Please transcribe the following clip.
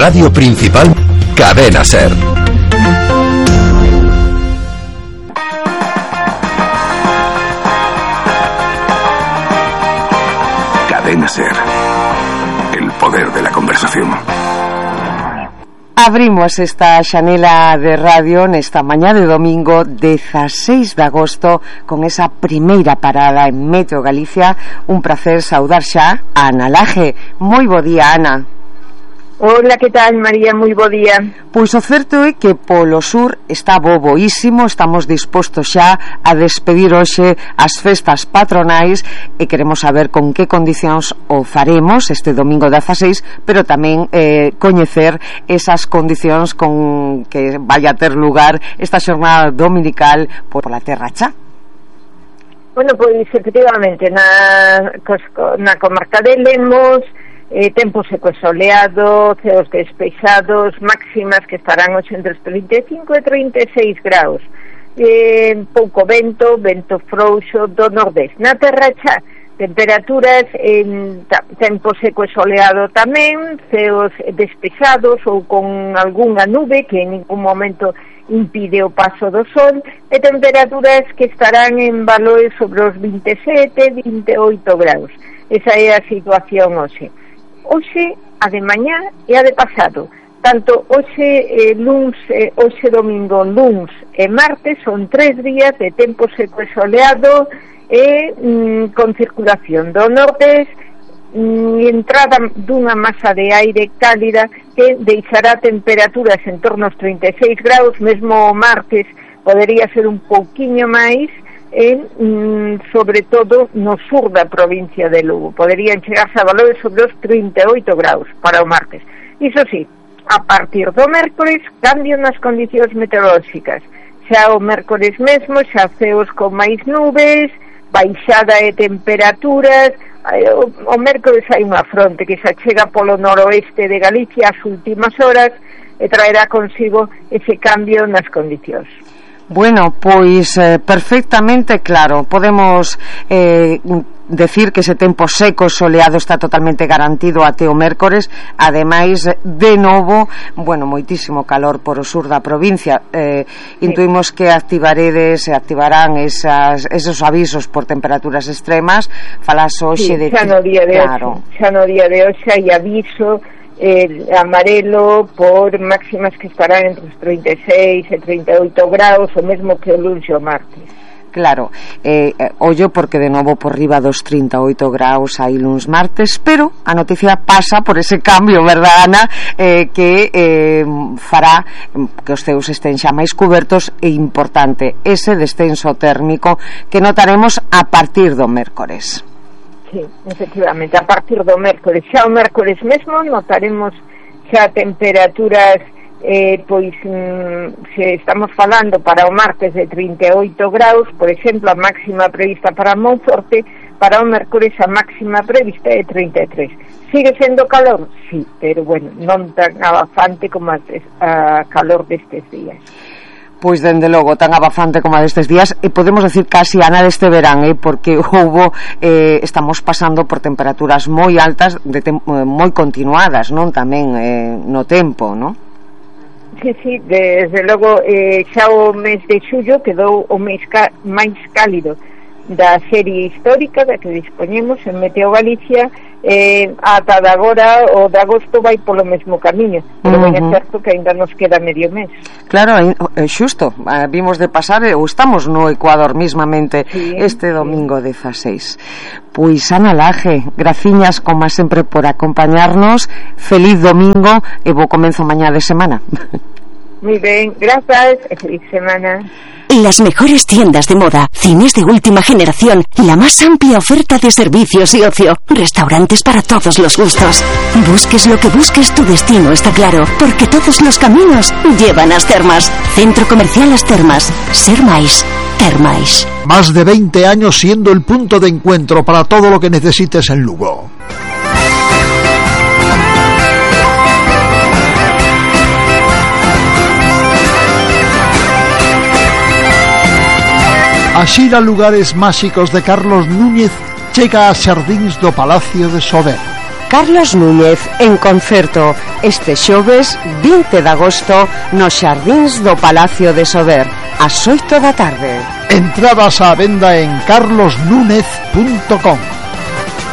radio principal, Cadena Ser. Cadena Ser. El poder de la conversación. Abrimos esta xanela de radio nesta mañá de domingo 16 de agosto con esa primeira parada en Meteo Galicia. Un placer saudar xa a Ana Laje. Moi bo día, Ana. Hola, que tal, María? Moi bo día. Pois o certo é que polo sur está boboísimo. Estamos dispostos xa a despedir hoxe as festas patronais e queremos saber con que condicións o faremos este domingo 16, pero tamén coñecer esas condicións con que vai a ter lugar esta xornada dominical pola Terra Cha. Bueno, pois efectivamente na comarca de Lemos, tempo seco e soleado, ceos despexados, máximas que estarán hoxe entre os 35 e 36 graus, pouco vento frouxo do nordés. Na Terra Cha, temperaturas en tempo seco e soleado tamén, ceos despexados ou con algunha nube que en ningún momento impide o paso do sol, e temperaturas que estarán en valores sobre os 27, 28 graus. Esa é a situación hoxe. Hoxe, a de mañá e a de pasado. Tanto hoxe luns, hoxe domingo, luns e martes son 3 días de tempo seco e soleado e con circulación do norte, entrada dunha masa de aire cálida que deixará temperaturas en torno aos 36 graus, mesmo o martes podería ser un pouquiño máis, sobre todo no sur da provincia de Lugo. Poderían chegarse a valores sobre os 38 graus para o martes. Iso sí, a partir do mércores cambio nas condicións meteorolóxicas. Xa o mércores mesmo, xa ceos con máis nubes, baixada de temperaturas. O mércores hai unha fronte que xa chega polo noroeste de Galicia ás últimas horas e traerá consigo ese cambio nas condicións. Bueno, pois perfectamente claro. Podemos decir que ese tempo seco soleado está totalmente garantido até o mércores. Ademais, de novo, bueno, moitísimo calor por o sur da provincia. Intuimos que activarán esos avisos por temperaturas extremas. Falas hoxe de xa no día de hoxe hai aviso amarelo por máximas que estarán entre os 36 e 38 graus, o mesmo que o luns e o martes. Claro, ollo porque de novo por riba dos 38 graus hai luns martes, pero a noticia pasa por ese cambio, verdad, Ana, que fará que os ceus estén xa máis cubertos, e importante ese descenso térmico que notaremos a partir do mércores. Sí, efectivamente, a partir do mércores. Xa o mércores mesmo notaremos xa temperaturas, pois se estamos falando para o martes de 38 graus, por exemplo, a máxima prevista para Monforte, para o mércores a máxima prevista é 33. Sigue sendo calor? Sí, pero bueno, non tan abafante como a calor destes días. Pois dende logo tan abafante como a destes días, e podemos decir casi, Ana, deste verán, porque estamos pasando por temperaturas moi altas, moi continuadas, non, tamén no tempo, non? Sí, desde logo xa o mes de xullo quedou o mes máis cálido da serie histórica da que dispoñemos en Meteo Galicia. Ata de agora o de agosto vai polo mesmo camiño, pero ben é certo que ainda nos queda medio mes. Claro, xusto, vimos de pasar, ou estamos no Ecuador mismamente, este domingo 16. Pois Ana Laje, graciñas como sempre por acompañarnos. Feliz domingo e bo comenzo mañá de semana. Muy ben, grazas e feliz semana. Las mejores tiendas de moda, cines de última generación, la más amplia oferta de servicios y ocio, restaurantes para todos los gustos. Busques lo que busques, tu destino está claro, porque todos los caminos llevan a As Termas. Centro Comercial As Termas. Ser máis, ter máis. Más de 20 años siendo el punto de encuentro para todo lo que necesites en Lugo. A xira Lugares Máxicos de Carlos Núñez chega a xardíns do Palacio de Sober. Carlos Núñez en concerto este xoves 20 de agosto nos xardíns do Palacio de Sober ás 8 da tarde. Entradas á venda en carlosnúñez.com.